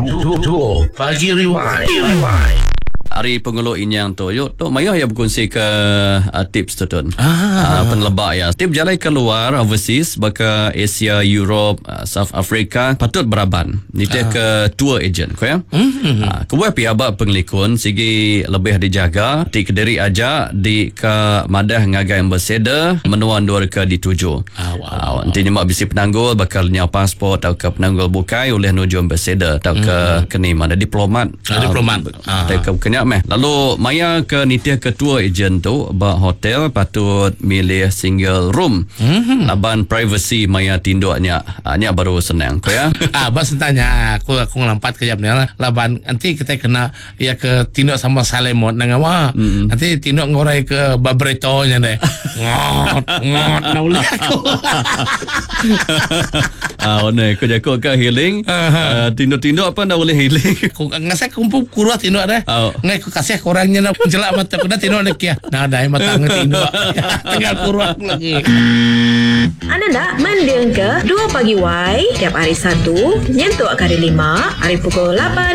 Dua Pagi Rewind. Ari pengulu inyang tu yu tu mayuh iya bekunsi ke uh, tips tu tun. Ah. Uh, peneleba iya. Ti bejalai ke luar overseas baka Asia, Europe, uh, South Africa patut beraban nitih ah. ke tour agent ko ya. Mm-hmm. Uh, kebuah pia ba pengelikun sigi lebih dijaga ti kediri aja di ke madah ngagai ambassador menua endur ke dituju. Ah, wow. Uh, enti nyema bisi penanggul baka lenyau pasport tauka penanggul bukai ulih nuju ambassador tauka mm-hmm. keni mana diplomat. Ah, diplomat. Ah. Tauka bukan nya meh. Lalu maya ke nitih ke tour agent tu ba hotel patut milih single room. Mm-hmm. Laban privacy maya tinduk nya. Ah, nya baru senang ko ya. ah, ba sentanya aku aku ngelampat kejap ni lah. Laban enti kita kena ya ke tinduk sama salemot nang awa. Mm-hmm. Nanti tinduk ngorai ke babrito nya deh. Ngot ngot na ulih aku. Ah, one ku jaku ka healing. Uh, tinduk-tinduk apa enda boleh healing. Ku ngasai kumpu kurah tinduk deh. Oh. Ngai ku kasih korang nya nak jelak mata ku dah tinduk deh kia. Nah dai mata ngai tinduk. Tinggal kurah aku lagi. Anda enda mendingka Dua Pagi Wai tiap hari Satu nyentuk ke hari Lima ari pukul lapan.